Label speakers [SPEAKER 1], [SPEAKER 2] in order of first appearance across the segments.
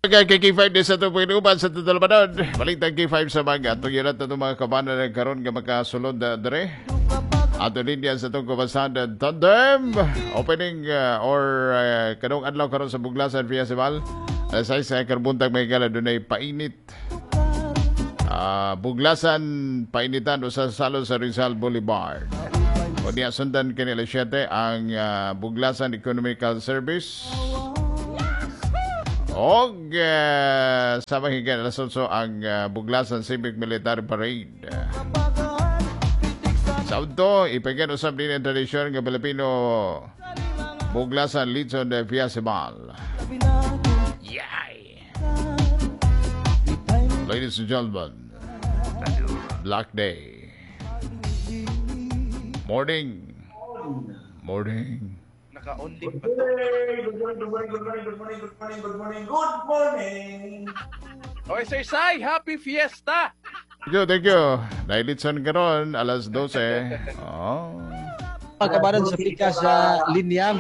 [SPEAKER 1] Kay K5 din sa itong pagkinuban sa tutulmanon. Balik tag K5 sa mga tugiran itong mga kabana na karon nga makasulod na dere. Ato linya sa itong kumasan tandem. Opening or kanong adlaw karon sa Buglasan Festival. Alas 6 sa karbuntag may gala dunay painit. Buglasan painitan o sa salo sa Rizal Boulevard. O niya sundan kini alas 7 ang Buglasan Economical Service. Og sa mahigan alas 8 ang Buglasan Civic Military Parade. Sa udto, ipagyan usab din ang tradisyon nga Pilipino Buglasan Litson de Festival. Yay! Ladies and gentlemen, Black Day. Morning. Morning.
[SPEAKER 2] Naka-on din pa to.
[SPEAKER 3] Good morning, good morning, good morning, good morning, good morning, good morning, good morning.
[SPEAKER 2] Okay, Sir Sai, happy fiesta!
[SPEAKER 1] Thank you, thank you. Nailitson karon alas 12. Oh.
[SPEAKER 4] Mga sa pika sa linya.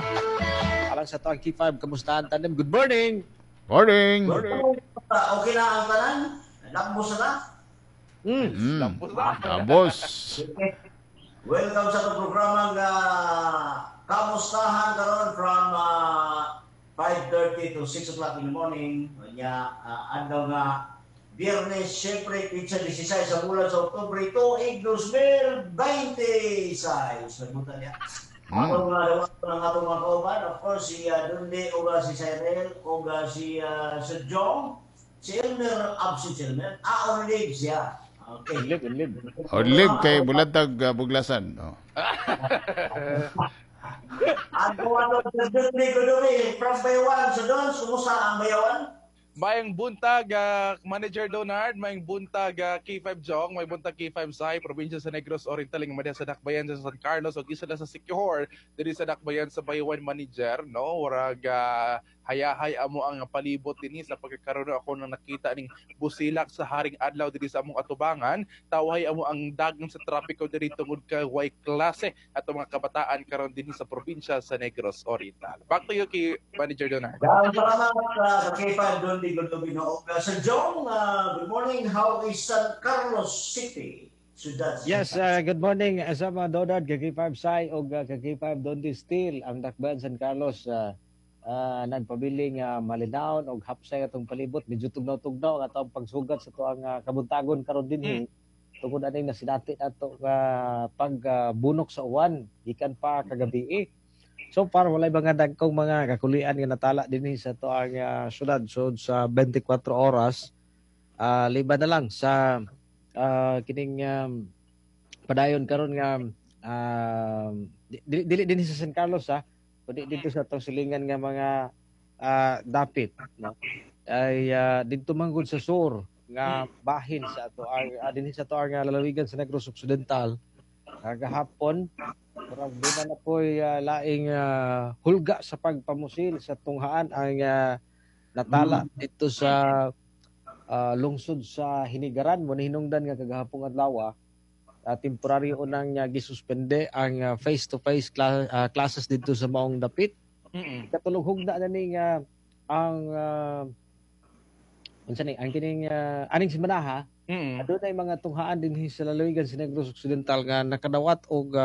[SPEAKER 4] Alang sa to ang K5, kamustahan tandem? Good morning!
[SPEAKER 1] Morning.
[SPEAKER 3] Okay na ang tanan? Lambos na?
[SPEAKER 1] Tapos,
[SPEAKER 3] Welcome sa itong programa nga kamustahan karon from 5:30 to 6 o'clock in the morning. Nya adlaw nga Biyernes, syempre, pitsa 16 sa bulan sa Oktubre, tuig 2026. Nagbutan niya. Atong nga ng atong mga kauban, of course, si Dundi, o si Cyril, o si Sir Jong, si Elmer, absent si Elmer, on leave siya. Okay.
[SPEAKER 4] Live, live.
[SPEAKER 1] Odlib kay bulatag Buglasan. Oh.
[SPEAKER 3] Ang ano, Sir Dundi Guduri, from Bayawan. So doon, kumusta ang Bayawan?
[SPEAKER 2] Mayang buntag, Manager Donard, mayang buntag K5 Jong, may buntag K5 Sai, probinsya sa Negros Oriental, nga madya sa Dakbayan sa San Carlos, ug isa na sa Siquijor, diri sa Dakbayan sa Bayawan, Manager, no? Warag hayahay amo ang palibot dinhi sa pagkakaroon ako nang nakita ning busilak sa Haring Adlaw diri sa among atubangan. Tawhay amo ang dagang sa trapiko diri tungod kay way klase ato mga kabataan karon dinhi sa probinsya sa Negros Oriental. Back to you kay Manager Donard.
[SPEAKER 3] Salamat sa K5 Dundi Gudubino. Sir Jong, good morning. How is San Carlos City? Siyudad.
[SPEAKER 4] Yes, good morning sa mga Donard, kay K5 Sai o kay K5 Dondi Steel, ang Dakbayan San Carlos nagpabiling malinawon og hapsay atong palibot, medyo tugnaw-tugnaw ang atong pagsugat sa tuang kabuntagon karon dinhi tungod aning nasinati ato pagbunok sa uwan gikan pa kagabi. So far walay mga dagkong mga kakulian nga natala dinhi sa tuang syudad so sa 24 oras, liban na lang sa kining padayon karon nga dili dinhi sa San Carlos ha, kundi dito sa atong silingan nga mga dapit, no, ay didto manggod sa sur nga bahin sa ato ang dinhi sa ato ang lalawigan sa Negros Occidental. Kagahapon murag duna na po'y laing hulga sa pagpamusil sa tunghaan ang natala dito sa lungsod sa Hinigaran. Mo hinungdan nga kagahapong adlaw temporaryo nang gisuspende ang face-to-face classes dito sa maong dapit. Katulong hugna na ning ang unsa ni ang kining aning semana ha, adunay mga tunghaan dinhi sa lalawigan sa Negros Occidental nga nakadawat og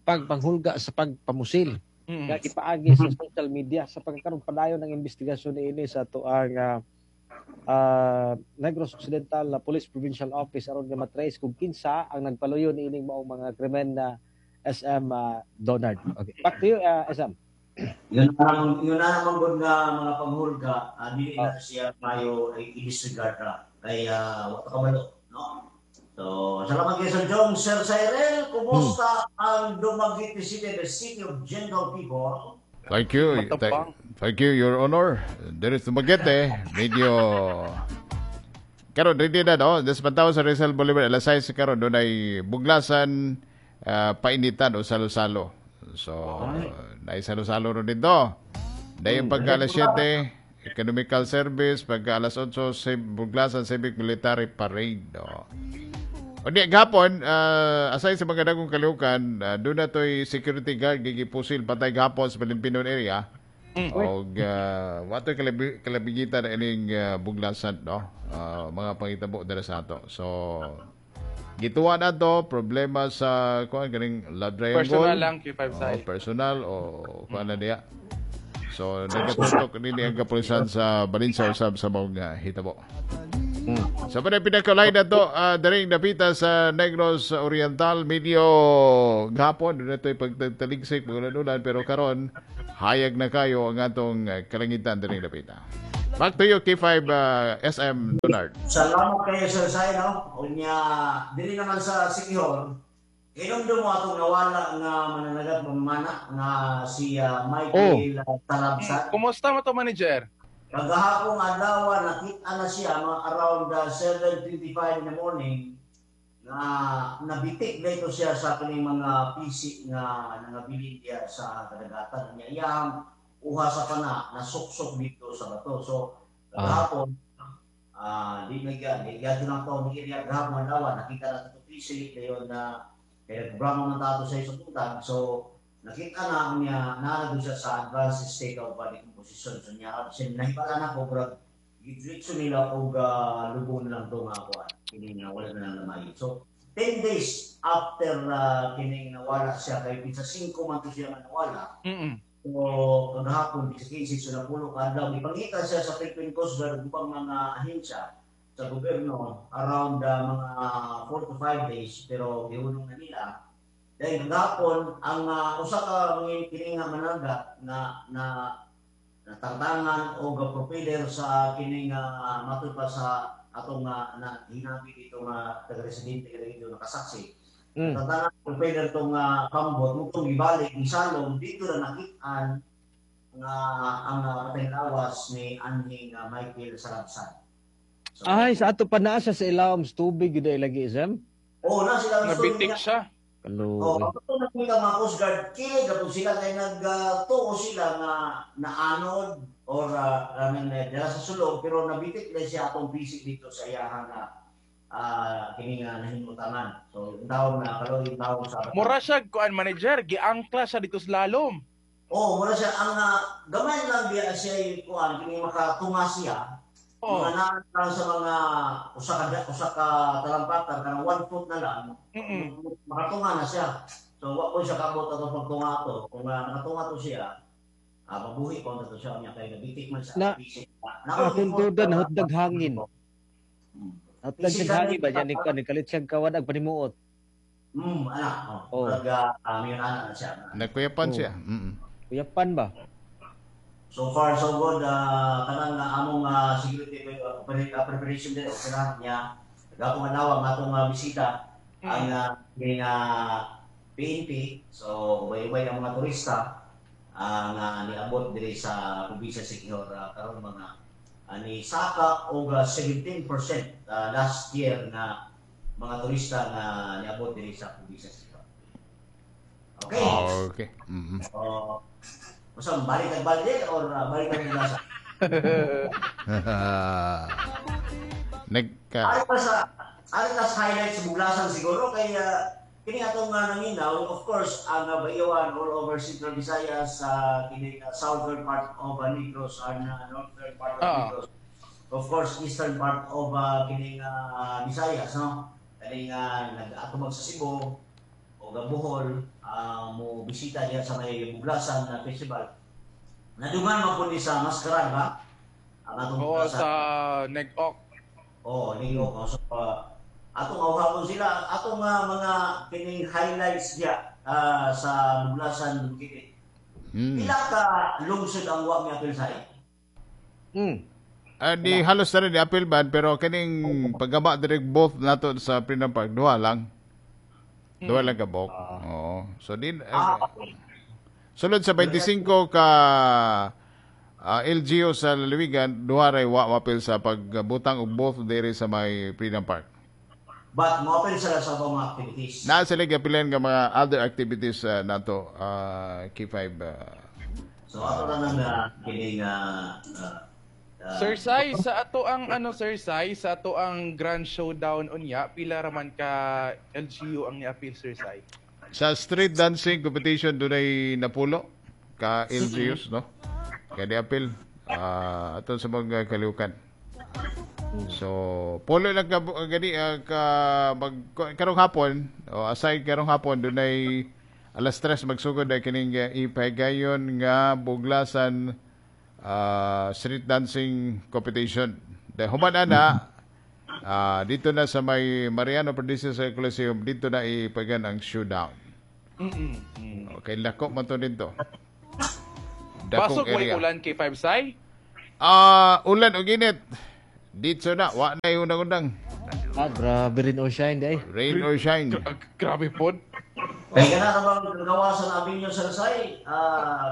[SPEAKER 4] pagpanghulga sa pagpamusil nga gipaagi sa social media sa pagkakaroon padayon ng investigasyon niini sa atoang Negros Occidental Police Provincial Office aron nga matrace kung kinsa ang nagpaluyo niining maong mga krimen na SM Donard. Okay. Back to you SM.
[SPEAKER 3] Yun na naman gud nga mga panghulga, dili na siya mayo i-disregard ra kay wa ta kabalo, no? So, salamat kay Sir Jong. Sir Cyril, kumusta ang Dumaguete City, the city of gentle people?
[SPEAKER 1] Thank you. Thank you, Your Honor. There is Dumaguete. Medyo karon ready na, no? Des pantaw sa Rizal Boulevard alas 6 karon dunay Buglasan painitan o salo-salo. So, naay salo-salo ron dito. Dayon pagka alas 7, Economical Service, pagka alas 8, Buglasan Civic Military Parade. No? O di, gapon, aside sa mga dagong kalihukan, doon na to'y security guard gigipusil patay gapon sa Palimpinon area. Og wato kalabigitan ining buglasan, no? Mga pangitabo dira sa ato. So gituwa na to problema sa kuan ganing love triangle.
[SPEAKER 2] Personal lang, K5
[SPEAKER 1] Oh,
[SPEAKER 2] Sai.
[SPEAKER 1] Personal o kuan na diya. So nagatutok nini ang kapulisan sa Valencia usab sa maong hitabo. Sa so, pinakalay na to, daring napita sa Negros Oriental, medyo gapon, doon na ito'y pagtaligsik, magulan-ulan, pero karon hayag na kayo ang atong kalangitan daring napita. Back to you, K5 SM Donard.
[SPEAKER 3] Salamat kayo, Sir Sai, no? Unya, dili naman sa Siquijor, hinumdum mo atong nawala nga mananagat mamana nga si Michael Talabsan.
[SPEAKER 2] Kumusta mo to, manager?
[SPEAKER 3] Kagahapong adlaw, nakita na siya mga around 7:25 in the morning na nabitik dito siya sa kining mga PC nga nangabilin diya sa kadagatan niya. Iyang uha sa pana nasuksok dito sa bato. So kagahapon, di na gyud di gyud na to ni area gahapon adlaw, nakita na to PC dayon na kaya nagbrama man tato sa isang buntag. So nakita na niya naa siya sa advanced state of body composition. So niya siya nahibala na ko murag gidritso nila og lubong na lang to nga kuan kini nga wala na lang namayi. So 10 days after kining nawala siya, kay pitsa 5 man to siya nga nawala. So kagahapon sa 15, so napulo ka adlaw, ipangita siya sa Philippine Coast Guard ug ubang mga ahensya sa gobyerno around mga 4 to 5 days, pero gihunong na nila. Dahil kagahapon ang usa ka mga kini nga managat na na natartangan og propeller sa kining matud pa sa atong na hinabi dito nga taga-residente dito nakasaksi. Natartangan propeller tong kambot mutong gibalik gisalom dito na nakitaan nga ang patay lawas ni anhing Michael Salabsan. So,
[SPEAKER 4] Ay, sa ato pa naa siya sa ilawom sa tubig gyud ay lagi, Sam.
[SPEAKER 3] Oh, na sila
[SPEAKER 2] Nabitik siya.
[SPEAKER 4] Kaluoy.
[SPEAKER 3] Oh, ato nakita mga Coast Guard, kini gapon sila kay nagtuo sila nga naanod or dala sa sulog, pero nabitik na siya atong bisik dito sa iyahan na kini nga nahimutangan. So, yung tawag na karon yung tawag sa
[SPEAKER 2] Mura siya kuan, manager, giangkla siya dito sa lalom.
[SPEAKER 3] Oh, mura siya ang gamay lang biya siya yung kuan kini makatunga siya. Mga naan lang sa mga usa ka talampakan kanang 1 foot na lang. Makatunga na siya. So wa ko siya kabot atong pagtunga to. Kung nakatunga to siya, mabuhi pa to siya niya kay nabitik man sa bisik.
[SPEAKER 4] Kung tuod nahutdag hangin. Nahutdag
[SPEAKER 3] Bisik
[SPEAKER 4] siya hangin
[SPEAKER 3] na
[SPEAKER 4] ba niya ni kuan kalit siya kawad ag panimuot.
[SPEAKER 3] Anak. Oh.
[SPEAKER 4] Oh.
[SPEAKER 3] Nag mayon ana na siya.
[SPEAKER 1] Nagkuyapan siya.
[SPEAKER 4] Kuyapan ba?
[SPEAKER 3] So far so good, kanang among security preparation din okay na niya. Gapong adlaw ang atong bisita ang PNP. So ubay-ubay ang mga turista ang niabot diri sa probinsya Siquijor karon mga ni saka og 17% last year na mga turista na niabot diri sa probinsya Siquijor. Okay.
[SPEAKER 1] Okay.
[SPEAKER 3] So, basta balik ang balde or balik ang buglasan?
[SPEAKER 1] Nagka
[SPEAKER 3] Ari pa sa highlights sa buglasan siguro kay kini atong naninaw, of course, ang Bayawan all over Central Visayas, sa kini southern part of Negros and northern part of Negros. Of course, eastern part of kining Visayas, no? Kaning nag-atubag sa Cebu o Bohol, mo bisita diya sa may Buglasan na festival. Nadungan man po ni sa Mascaran ba? Ang atong
[SPEAKER 2] Oo,
[SPEAKER 3] Buglasan.
[SPEAKER 2] sa Negok.
[SPEAKER 3] Oo, Negok. So, atong awhapon sila, atong mga kining highlights diya sa Buglasan Dumaguete. Pila ka lungsod ang wa miapil sa
[SPEAKER 1] Di halos na rin ni-appeal man, pero kining paggaba direct both nato sa Freedom Park, duha lang. Duha lang kabok. Oo. So din sulod sa 25 ka LGU sa lalawigan, duha ray wa mapil sa pagbutang og both diri sa may Freedom Park.
[SPEAKER 3] But mo-apil sila sa ubang mga activities.
[SPEAKER 1] Naa sila giapilan nga mga other activities nato K5
[SPEAKER 3] So ato na nang kining
[SPEAKER 2] Sir Sai, sa ato ang ano Sir Sai, sa ato ang Grand Showdown unya, pila raman ka LGU ang niapil, Sir Sai?
[SPEAKER 1] Sa street dancing competition dunay napulo ka LGUs, no? Kay di apil ato sa mga kalihukan. So, pulo lang ka gani ka mag karong hapon o aside karong hapon dunay alas 3 magsugod ay kining ipahigayon nga Buglasan street dancing competition. Dahil human ana dito na sa may Mariano Perdices sa Coliseum, dito na ipagan ang showdown. Okay, lako man to dito.
[SPEAKER 2] Dakong Basog way ulan K5 Sai?
[SPEAKER 1] Ulan og init. Dito na, wa na yung undang-undang.
[SPEAKER 4] Grabe rin o shine day.
[SPEAKER 1] Rain or shine.
[SPEAKER 2] Grabe pod.
[SPEAKER 3] Kaya kana bang gawasan Avenue sa Lasay,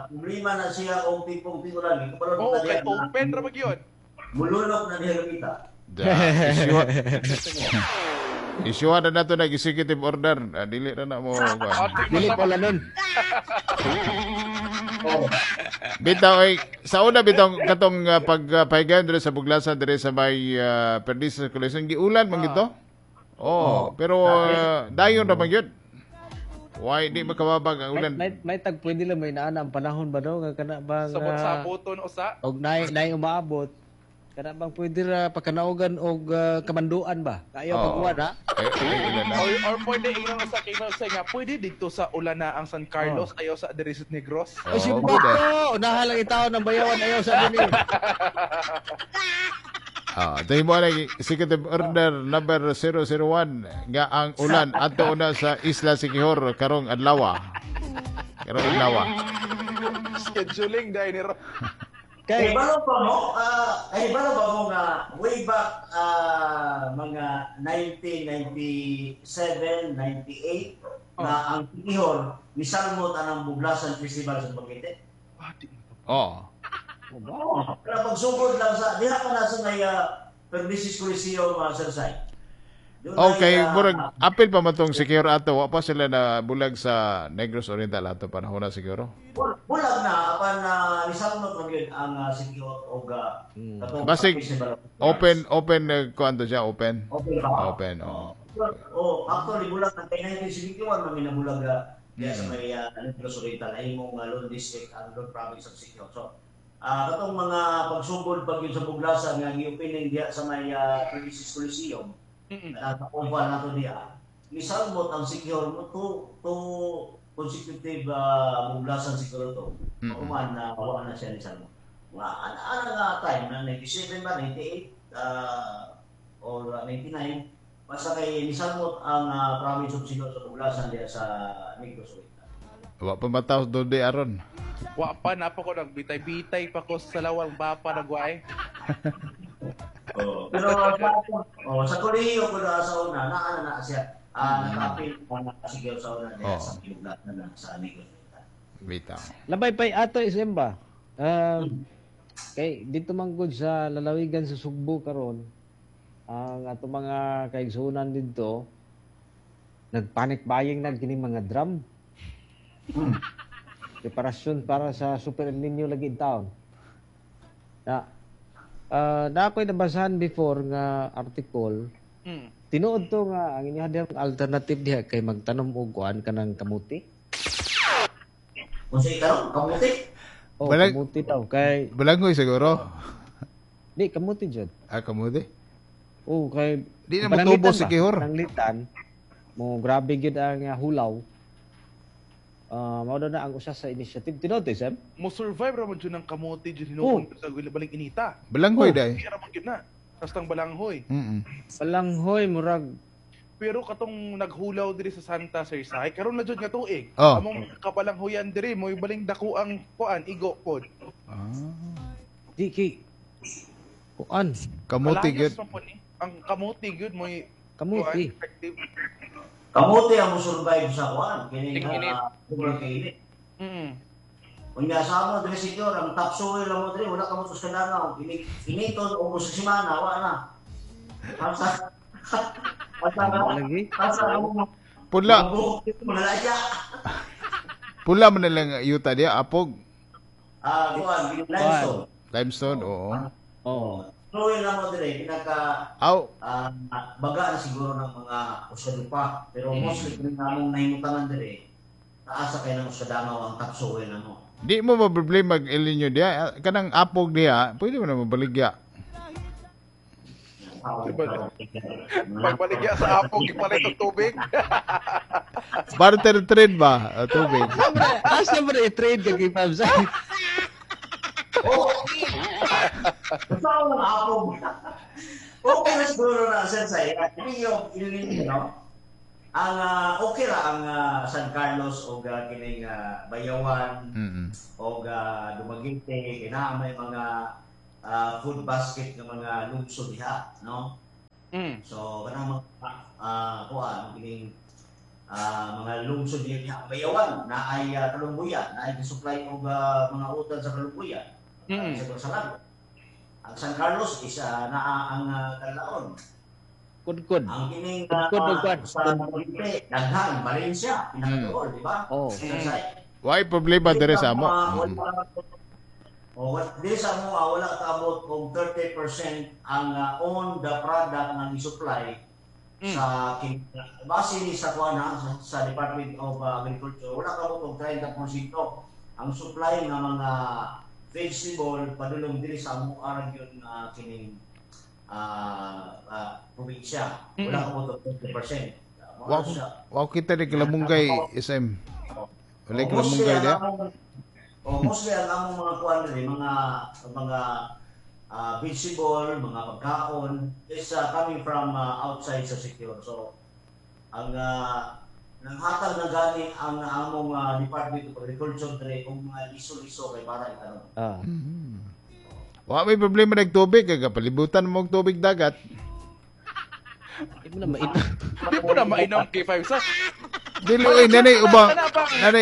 [SPEAKER 3] problema na siya og tipong tigulan.
[SPEAKER 2] Oo, kay open ra ba gyud?
[SPEAKER 3] Mulunok na diha gamita.
[SPEAKER 1] Isyuhan na nato nag executive order. Dili na na mo.
[SPEAKER 4] Dili pala nun.
[SPEAKER 1] Bitaw ay sa una bitaw katong pagpahigayon dire sa Buglasan dire sa may Perdices Coliseum giulan man gito. Oh, pero dayon na man gyud. Why di makababag ang ulan?
[SPEAKER 4] May tag pwede lang may naana ang panahon ba daw nga kana bang
[SPEAKER 2] sabot-saboton usa
[SPEAKER 4] og nay umaabot. Kana bang pwede ra pagkanaugan og kamanduan ba? Kayo pagkuan ha?
[SPEAKER 2] Or pwede ingnon sa kay nga pwede dito sa ulan na ang San Carlos ayaw sa diri sa Negros.
[SPEAKER 4] Oh, si Bato, unahan lang itaw ng bayawan ayaw sa dinhi.
[SPEAKER 1] Tayo mo lang executive order number 001 nga ang ulan adto una sa Isla Siquijor karong adlaw. Karong adlaw.
[SPEAKER 2] Scheduling dai ni
[SPEAKER 3] Kay balo pa mo, balo ba mo nga way back mga 1997, 98 na ang Siquijor misalmot anang Buglasan Festival sa Dumaguete.
[SPEAKER 1] Oh.
[SPEAKER 3] Pero pagsugod lang sa diha pa na sa may Perdices Coliseum Sir Sai.
[SPEAKER 1] Okay, murag apil pa man tong Siquijor ato, wa pa sila na bulag sa Negros Oriental ato panahon na siguro.
[SPEAKER 3] Bulag na apan nisalmot man gyud ang Siquijor og
[SPEAKER 1] katong basig open kuan to siya, open.
[SPEAKER 3] Open ba?
[SPEAKER 1] Open, oh.
[SPEAKER 3] Oh, actually bulag na kay 1971 man minabulag diya sa may Negros Oriental ay imong Lone District ang Lone Province of Siquijor. So, katong mga pagsugod pag yun sa Buglasan nga gi-opening diya sa may Perdices Coliseum. Sa oval nato diya. Misalmot ang Siquijor mo two consecutive Buglasan siguro to. Uman na wala na siya ni Salmo. Mga ana nga time na 97 ba 98 or 99 basta kay misalmot ang province of Siquijor sa Buglasan diya sa Negros Oriental.
[SPEAKER 1] Wa pa mataos do di aron.
[SPEAKER 2] Wa pa na pa ko nagbitay-bitay pa ko sa lawang bapa nagway.
[SPEAKER 3] Oh, pero sa kolehiyo ko na sa una, naana na siya. Naka-apil na siguro sa una diya sa Buglasan na sa Negros Oriental.
[SPEAKER 1] Bitaw.
[SPEAKER 4] Labay pay ato SM ba? Kay dito man gud sa lalawigan sa Sugbo karon ang ato mga kaigsuonan didto nagpanic buying na kini mga drum. Preparasyon para sa Super El Nino lagi in town. Na na ako'y nabasahan before nga article. Tinuod to nga ang inyong alternative diha kay magtanom og kuan kanang kamuti.
[SPEAKER 3] Unsay karon kamuti?
[SPEAKER 4] Oh, kamuti daw kay
[SPEAKER 1] balanghoy siguro.
[SPEAKER 4] Di kamuti jud.
[SPEAKER 1] Kamuti.
[SPEAKER 4] Oh, kay
[SPEAKER 1] di na motubo si Siquijor.
[SPEAKER 4] Pananglitan mo grabe gyud ang hulaw. Mao daw na ang usa sa initiative tinuod Sam.
[SPEAKER 2] Mo survive ra man jud ang kamuti jud hinuon sa baling inita.
[SPEAKER 1] Balanghoy dai.
[SPEAKER 2] Di ra man gyud na. Kastang balanghoy.
[SPEAKER 4] Balanghoy murag
[SPEAKER 2] pero katong naghulaw diri sa Santa Sir Sai karon na jud nga tuig.
[SPEAKER 1] Oh.
[SPEAKER 2] Among kabalanghoyan diri mo baling dako ang kuan igo pod.
[SPEAKER 4] Di kay kuan
[SPEAKER 1] kamuti gyud.
[SPEAKER 2] Ang kamuti gyud mo
[SPEAKER 4] kamuti.
[SPEAKER 2] Effective.
[SPEAKER 3] Kamuti ang mo survive sa kuan kini nga init. Unya sa amo diri Siquijor ang topsoil mo diri wala ka mo sa kananaw initon og sa semana wa na. Asa lagi. Asa
[SPEAKER 1] pula. Pula man lang yuta diya apog.
[SPEAKER 3] Kuan limestone.
[SPEAKER 1] Limestone, oo.
[SPEAKER 4] Oo.
[SPEAKER 3] Soil na mo dire pinaka baga na siguro ng mga usa pa pero mostly kini namong nahimutangan dire taasa kay nang usa dangaw ang topsoil na mo.
[SPEAKER 1] Di mo ma-problema mag El Niño diha. Kanang apog diha, pwede mo na mabaligya.
[SPEAKER 2] Pagbaligya sa apog, ipalit og tubig.
[SPEAKER 1] Barter trade ba? Tubig.
[SPEAKER 4] Asa ba na i-trade ka kay Pabs?
[SPEAKER 3] Oh. Sa ang apog. Okay na siguro na sir sa Hindi yung El no? Ang okay ra ang San Carlos o kining Bayawan o Dumaguete kay naa may mga food basket ng mga lungsod diha, no? So kanang mga kuan kining mga lungsod diha Bayawan na ay Kalumbuyan, na ay supply og mga utan sa Kalumbuyan. Sa Lago. Ang San Carlos is naa ang Kanlaon.
[SPEAKER 4] Kudkod.
[SPEAKER 3] Ang kining
[SPEAKER 4] Kudkod.
[SPEAKER 3] Sa Dumaguete, daghan Valencia, pinakatuol, di ba?
[SPEAKER 4] Oh.
[SPEAKER 1] Why problema dere sa amo?
[SPEAKER 3] Diri sa amo wala kaabot og 30% ang on the product nga gi-supply sa base ni sa kuan sa Department of Agriculture, wala kaabot og 30% ang supply nga mga vegetable padulong diri sa amo region nga kining probinsya. Wala kaabot og 30%.
[SPEAKER 1] Wa kita ni kalamunggay SM. Wala kalamunggay dia.
[SPEAKER 3] Mostly ang among mga kuan diri, mga vegetable, mga pagkaon is coming from outside sa Siquijor. So ang nanghatag na gani ang among Department of Agriculture diri og mga liso-liso kay para itanong.
[SPEAKER 1] Wa may problema nagtubig kay kapalibutan mo og tubig dagat.
[SPEAKER 4] Di mo na mainom.
[SPEAKER 2] Di mo na mainom K5 sa.
[SPEAKER 1] Dili oy nanay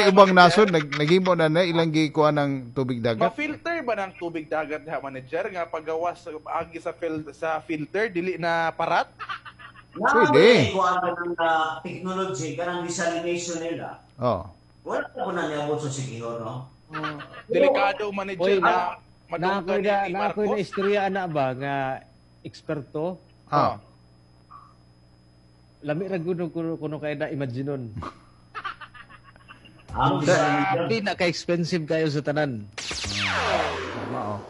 [SPEAKER 1] ubang nasod naghimo na na ilang gikuha ng tubig dagat.
[SPEAKER 2] Ma-filter ba ng tubig dagat ha manager nga pagawas agi sa sa filter dili na parat?
[SPEAKER 1] Pwede.
[SPEAKER 3] Kuha ng technology kanang desalination nila.
[SPEAKER 1] Oh.
[SPEAKER 3] Wala ko na niabot sa Siquijor, no?
[SPEAKER 2] Delikado manager na
[SPEAKER 4] madunggan ni Marcos. Na istorya ana ba nga eksperto?
[SPEAKER 1] Ah.
[SPEAKER 4] Lami ra gud kuno kay na imaginon. Hindi na ka-expensive kayo sa tanan.
[SPEAKER 1] Mao.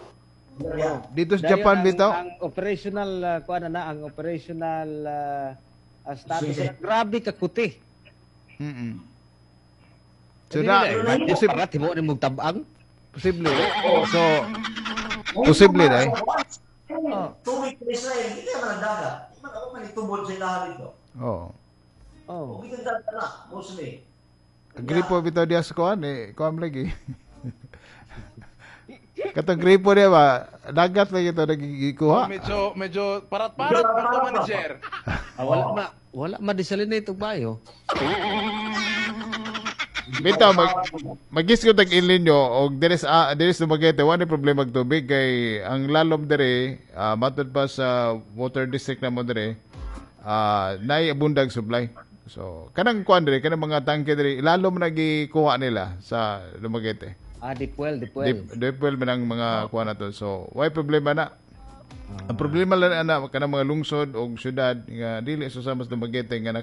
[SPEAKER 1] Dito sa Japan bitaw.
[SPEAKER 4] Ang operational kuan na ang operational status grabe ka kuti.
[SPEAKER 1] So na
[SPEAKER 4] posible timo ni mong tabang.
[SPEAKER 1] Posible. So posible dai.
[SPEAKER 3] Tubig sa Israel, hindi man dagat. Di man ako manitubod sila dito.
[SPEAKER 1] Oo.
[SPEAKER 4] Oh.
[SPEAKER 3] Okay dagat na, mostly.
[SPEAKER 1] Gripo bitaw diya sa kuan eh, kuan lagi. Katong gripo diya ba, dagat lagi ito nagigikuha.
[SPEAKER 2] Oh, medyo parat-parat pa to manager.
[SPEAKER 4] Wala ma desalinate og bayo.
[SPEAKER 1] Bitaw magisgo tag El Niño og diri sa Dumaguete wa ni problema og tubig kay ang lalom diri matud pa sa water district na mo diri naay abundag supply. So kanang kuan diri kanang mga tangke diri ilalom na gikuha nila sa Dumaguete.
[SPEAKER 4] Deep well.
[SPEAKER 1] Deep well man ang mga kuan nato. So way problema na. Ang problema lang ana kanang mga lungsod og syudad nga dili susama sa Dumaguete nga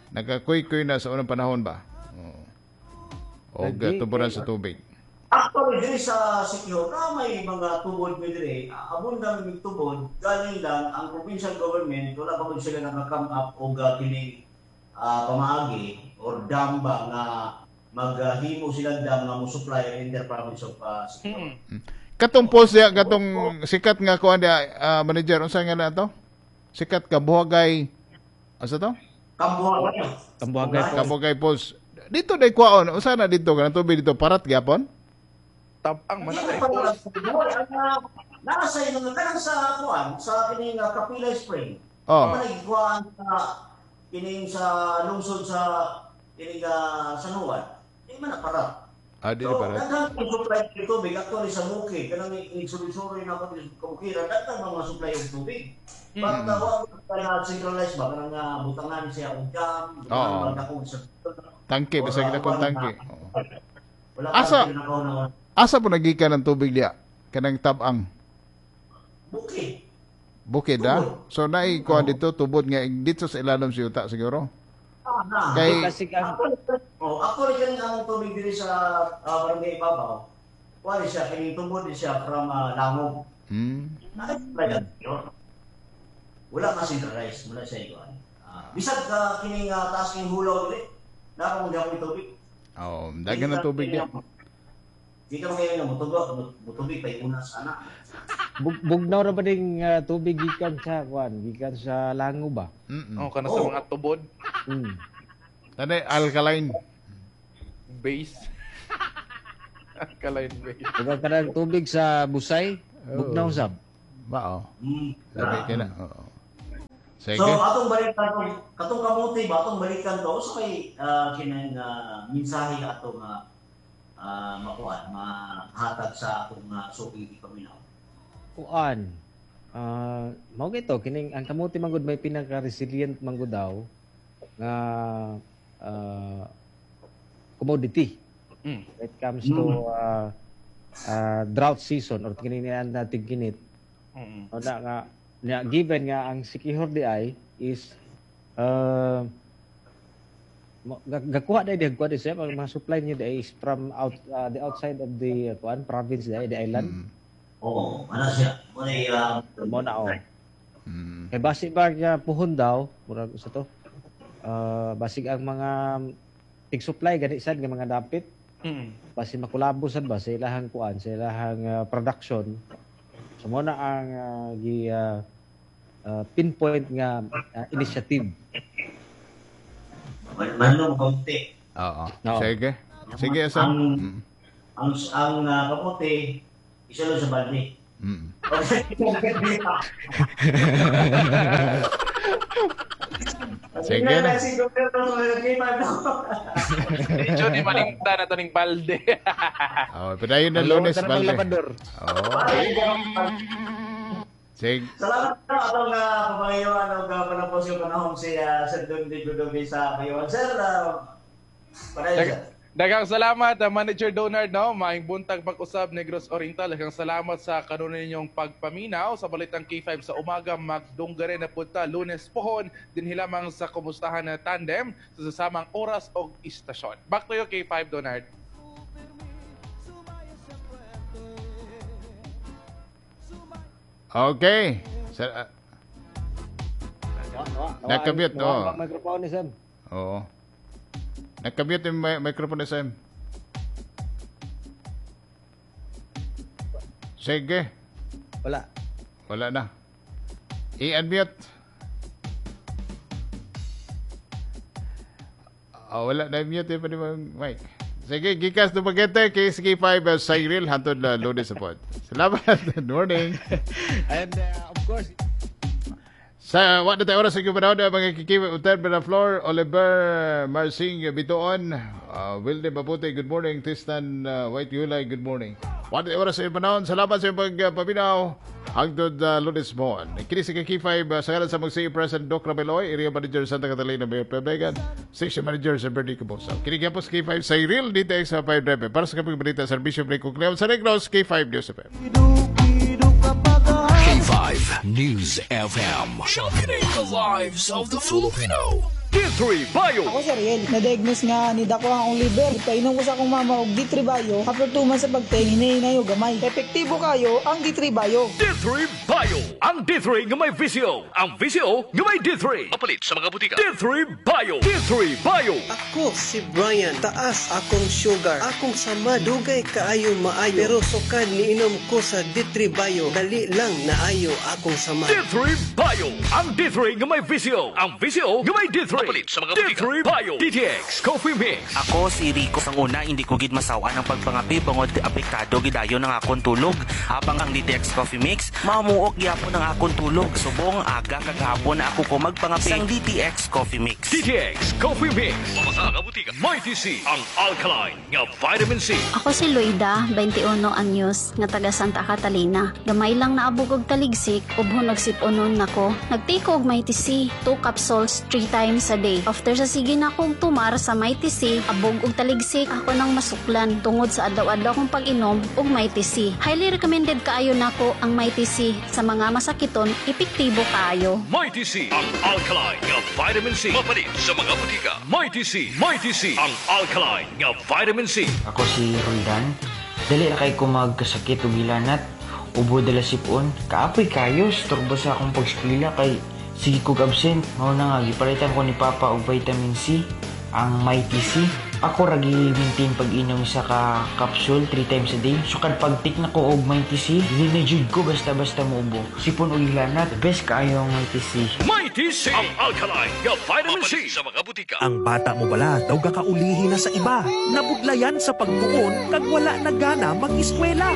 [SPEAKER 1] nakakuy-kuy na sa unang panahon ba. O tuburan sa tubig.
[SPEAKER 3] Actually, diri sa Siquijor, na may mga tubod mi diri, abundang mig tubod, galing lang ang provincial government, wala pa man sila naka-come up og kining pamaagi or dam ba nga maghimo sila dam nga mo supply inter-province of Siquijor.
[SPEAKER 1] Katong post diya, katong sikat nga kuan diya, manager, unsa nga na to? Sikat Kabuhagay. Asa to?
[SPEAKER 3] Kabuhagay.
[SPEAKER 1] Kabuhagay post. Dito day kuwaon, usa na dito kanang tubig dito parat gyapon?
[SPEAKER 2] Tabang man na post.
[SPEAKER 3] Nasa inyo kanang sa kuan sa kining Kapila Spring.
[SPEAKER 1] Oh.
[SPEAKER 3] Manigkuan sa kining sa lungsod sa kining San Juan. Di man na parat.
[SPEAKER 1] Di so, parat.
[SPEAKER 3] Daghang supply og tubig actually sa bukid kanang igsuli-suri na ko sa kabukiran daghang mga supply og tubig. But wa na centralized ba kanang butangan siya og dam, butangan ba sa
[SPEAKER 1] tangke, basta kita kung tangke.
[SPEAKER 3] Wala
[SPEAKER 1] Asa po nagikan ng tubig diya? Kanang tabang?
[SPEAKER 3] Bukid.
[SPEAKER 1] Bukid, ha? So, naikuha dito, tubod nga, dito sa ilalim sa yuta, siguro? Kay,
[SPEAKER 3] Oh, ako rin kaning among tubig diri sa Barangay Ibabaw. Kuha siya kining tubod ni siya from Langog. Wala ka centralized, wala siya ikuan. Bisag kining taas king hulaw diri. Naa pa mo tubig.
[SPEAKER 1] Oh, daghan na tubig diya.
[SPEAKER 3] Di ka magayon nga mutubig pa una sana.
[SPEAKER 4] Bugnaw ra ba ding tubig gikan sa kuan, gikan sa Lango ba?
[SPEAKER 2] Oh, kana sa mga tubod.
[SPEAKER 1] Tani alkaline
[SPEAKER 2] base. Alkaline base.
[SPEAKER 4] Diba kanang tubig sa Busay, bugnaw sab.
[SPEAKER 1] Ba oh. Sabi ka na. Oo. Sige.
[SPEAKER 3] So atong balikan katong kamote ba atong balikan to sa kay kinang mensahe atong makuan mahatag sa atong suki paminaw.
[SPEAKER 4] Kuan. Mao gito kining ang kamote manggod may pinaka resilient manggod daw nga commodity. When it comes to drought season or kini natin kinit. O na nga given nga ang Siquijor di ay is gakuha dai di kuha di siya ang mga supply niya di is from out the outside of the kuan province di the island.
[SPEAKER 3] Oo, ano siya?
[SPEAKER 4] Mo na oh. Kay basig ba nga puhon daw murag sa to. Basig ang mga tig-supply gani sad nga mga dapit. Basig makulabo sad ba sa ilahang kuan, sa ilahang production. So mo na ang pinpoint nga initiative.
[SPEAKER 3] Manong kamote.
[SPEAKER 1] Oo. Sige. Sige, Sam.
[SPEAKER 3] Ang kamote isa lang sa balde.
[SPEAKER 1] Sige na.
[SPEAKER 2] Medyo ni malimta na ito ng balde.
[SPEAKER 1] Oh, padayon na Lunes balde. Oh. Sige.
[SPEAKER 3] Salamat na atong pamangayuan og panapos yung panahon si Sir Don Digo sa Bayawan. Sir, padayon.
[SPEAKER 2] Daghang salamat, Manager Donard, no? Maayong buntag pag-usab Negros Oriental. Daghang salamat sa kanunay ninyong pagpaminaw sa Balitang K5 sa umaga. Magdungga rin na punta Lunes pohon dinhi lamang sa Kumustahan na Tandem sa sasamang oras og istasyon. Back to you, K5 Donard.
[SPEAKER 1] Okay. Nakabit, oh.
[SPEAKER 4] Microphone ni Sam.
[SPEAKER 1] Oo. Nakabit yung microphone ni Sam. Sige.
[SPEAKER 4] Wala.
[SPEAKER 1] Wala na. I-unmute. Oh, wala na mute yung pa mic. Sige, gikas Dumaguete, KSK5, Cyril, hantod na Lunes support. Salamat. Good morning.
[SPEAKER 4] And of course,
[SPEAKER 1] sa what na tayo oras sa panahon mga kikiwi Uter Benaflor, Oliver Marsing Bitoon, Wilde Mabuti, good morning. Tristan White Yulay, good morning. What na tayo oras sa panahon. Salamat sa iyong pagpaminaw. Hangtod Lunes Mon. Kini sa K5 sa ngalan sa mga President Doc Rabeloy, Area Manager Santa Catalina Mayor Pebegan, Station Manager sa Bernie Cabosa. Kini gyapon sa K5 Cyril dito sa 5 para sa kapag balita serbisyo Break Cleon sa Negros K5 News FM.
[SPEAKER 5] K5 News FM, championing the lives of the Filipino. D3 Bio.
[SPEAKER 6] Ako si Ariel, na-diagnose nga ni dako ang akong liver. Painom ko sa akong mama og D3 Bio. After 2 months sa pagteng, hinahinayo gamay. Epektibo kayo ang D3 Bio.
[SPEAKER 5] D3 Bio. Ang D3 nga may VCO. Ang VCO nga may D3. Apalit sa mga butika. D3 Bio. D3 Bio.
[SPEAKER 7] Ako si Brian. Taas akong sugar. Akong sama dugay kaayo maayo. Pero sukad niinom ko sa D3 Bio. Dali lang naayo akong sama.
[SPEAKER 5] D3 Bio. Ang D3 nga may VCO. Ang VCO nga may D3. Apalit sa mga butika. D3 Bio. DTX Coffee Mix.
[SPEAKER 8] Ako si Rico. Ang una, hindi ko gid masawa ng pagpangapi bangod apektado gidayon ang akong tulog. Habang ang DTX Coffee Mix, mamuok gyapon ang akong tulog. Subong aga kag hapon ako ko magpangapi sang DTX Coffee Mix.
[SPEAKER 5] DTX Coffee Mix. Mga butika. Mighty C, ang alkaline nga vitamin C.
[SPEAKER 9] Ako si Loida, 21 anyos, nga taga Santa Catalina. Gamay lang naabog og taligsik, ubhon og sipunon nako. Nagtiko og Mighty C, 2 capsules 3 times times a day. After sa sige na kong tumar sa Mighty C, abog og taligsik ako nang masuklan tungod sa adlaw-adlaw kong pag-inom og Mighty C. Highly recommended kaayo nako ang Mighty C sa mga masakiton, epektibo kaayo.
[SPEAKER 5] Mighty C, ang alkaline nga vitamin C. Mapalit sa mga butika. Mighty C, Mighty C, ang alkaline nga vitamin C.
[SPEAKER 10] Ako si Roldan. Dali ra kay ko magkasakit og hilanat. Ubo dala sipon. Kaapoy kayo, storbo sa akong pagskwela kay sige kog absent. Mao na nga gipalitan ko ni Papa og vitamin C, ang Mighty C. Ako ra gi-maintain pag-inom sa ka capsule 3 times a day. Sukad pag-take na ko og Mighty C, dili na jud ko basta-basta muubo. Sipon og hilanat, best kaayo ang Mighty C.
[SPEAKER 5] Mighty C, ang alkaline nga vitamin C. Sa mga butika.
[SPEAKER 11] Ang bata mo bala daw gakaulihi na sa iba. Nabudlayan sa pagtuon kag wala na gana mag-eskwela.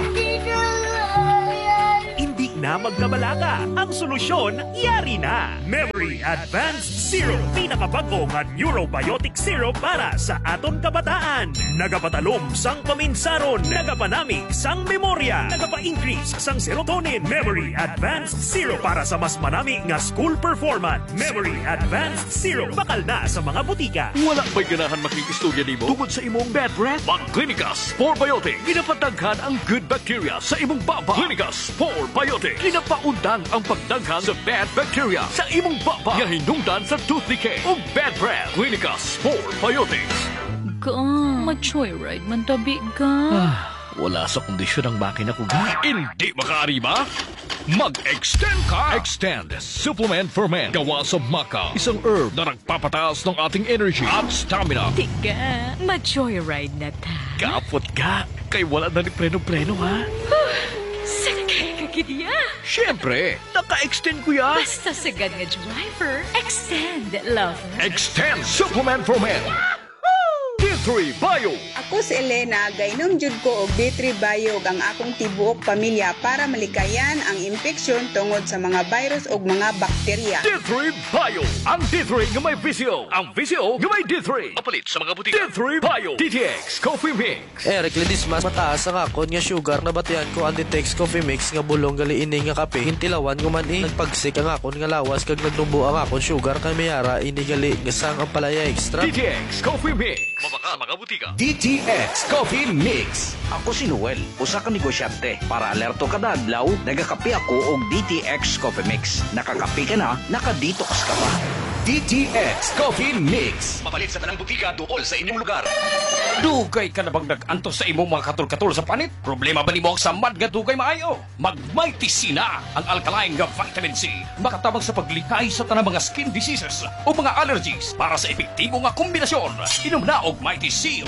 [SPEAKER 11] Hindi na magkabalaka. Ang solusyon, yari na. Memory Advanced Syrup. Pinakabago nga neurobiotic syrup para sa aton kabataan. Nagapatalom sang paminsaron. Nagapanami sang memorya. Nagapa-increase sang serotonin. Memory Advanced Syrup para sa mas manami nga school performance. Memory Advanced Syrup. Bakal na sa mga butika.
[SPEAKER 5] Wala ba'y ganahan makikistorya nimo tungod sa imong bad breath? Mag-Clinicas 4 Biotic. Ginapataghan ang good bacteria sa imong baba. Clinicas 4 Biotic. Ginapaundang ang pagdaghan sa bad bacteria sa imong baba nga hinungdan sa tooth decay o bad breath. Clinicas 4 Biotics.
[SPEAKER 12] Ga, ma-joyride man tabi ga.
[SPEAKER 5] Ah, wala sa kondisyon ang makina ko ga. Hindi makaarima? Mag-extend ka! Extend Supplement for Men. Gawa sa maca. Isang herb na nagpapataas ng ating energy at stamina.
[SPEAKER 12] Tika, ma-joyride na ta.
[SPEAKER 5] Kapot ka. Kay wala na ni preno-preno, ha?
[SPEAKER 12] Sakay ka gid ya.
[SPEAKER 5] Siyempre, naka-extend ko yan.
[SPEAKER 12] Basta sagad nga driver, extend, lover.
[SPEAKER 5] Extend Supplement for Men. D3 Bio.
[SPEAKER 13] Ako si Elena, gainom jud ko og D3 Bio ug ang akong tibuok pamilya para malikayan ang impeksyon tungod sa mga virus ug mga bakterya.
[SPEAKER 5] D3 Bio. Ang D3 nga may VCO. Ang VCO nga may D3. Mapalit sa mga butika. D3 Bio. DTX Coffee Mix.
[SPEAKER 14] Eric Ledesma, mataas ang akon nga sugar, nabatian ko ang Ditex Coffee Mix nga bulong gali ini nga kape. Gintilawan ko man eh. Nagpagsik ang akon nga lawas kag nagnubo ang akon sugar kay mayara ini gali nga sang ampalaya extra.
[SPEAKER 5] DTX Coffee Mix. Mabaka mga butika.
[SPEAKER 15] DTX Coffee Mix.
[SPEAKER 16] Ako si Noel, usa ka negosyante. Para alerto kada adlaw, nagakape ako og DTX Coffee Mix. Nakakape ka na, naka-detox ka pa.
[SPEAKER 15] DTX Coffee Mix.
[SPEAKER 17] Mapalit sa tanang butika duol sa inyong lugar. Dugay ka na bang nag-antos sa imong mga katol-katol sa panit? Problema ba nimo ang samad nga dugay maayo? Mag-Mighty C na ang alkaline nga vitamin C. Makatabang sa paglikay sa tanang mga skin diseases o mga allergies para sa epektibo nga kombinasyon. Inom na og Mighty C.